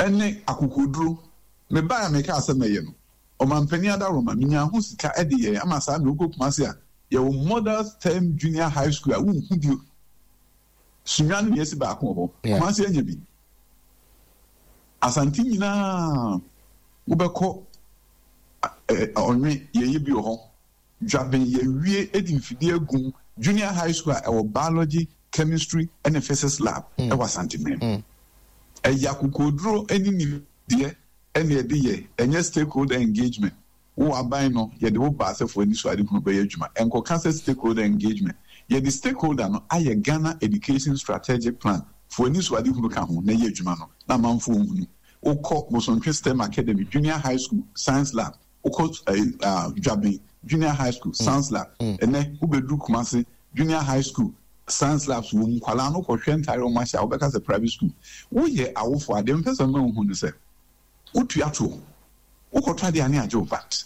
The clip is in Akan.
Ɛne akokoduro. Mebae a mekaa sɛ mɛyɛ no, Ɔmanpanin Adaworoma, menyaa ho sika de yɛe ama saa mmerɛ wokɔ Kumasi a, yɛwɔ Model STEM Junior High School a wonhu bio. Sunyani na yɛasi baako wɔ hɔ. Kumasi anya bi. Asante nyinaa wobɛkɔ Ɔnwe, yɛyɛ bi wɔ hɔ. Dwaben yɛawie de mfidie agu mu, Junior High School a ɛwɔ Biology, Chemistry ne Physics Lab wɔ Asanteman. Ɛyɛ akokoɔduro ne nimdeɛ na yɛde yɛ, ɛnyɛ stakeholder engagement. Wo aban no, yɛde wo ba sɛ fa w'anisoadehunu bɛyɛ adwuma. Ɛnkɔka sɛ stakeholder engagement. Yɛde stakeholder no ayɛ Ghana Education Strategic Plan, fa w'anisoadehunu ka ho na yɛ adwuma no na amanfoɔ nhunu. Wokɔ Bosontwe STEM Academy, Junior High School, Science Lab, Wokɔ Dwaben Junior High School, Science Lab. Ɛnnɛ, wobɛduru Kumasi Junior High School, Science Labs wɔ mu. Nkwadaa no kɔhwɛ ntadeɛ a wɔahyɛ a, wobɛka sɛ private school. Woyɛ awofoɔ a, deɛ mepɛ sɛ mema wohu ne sɛ, wotua toɔ. Wokɔtɔ adeɛ a, ne agye wo VAT.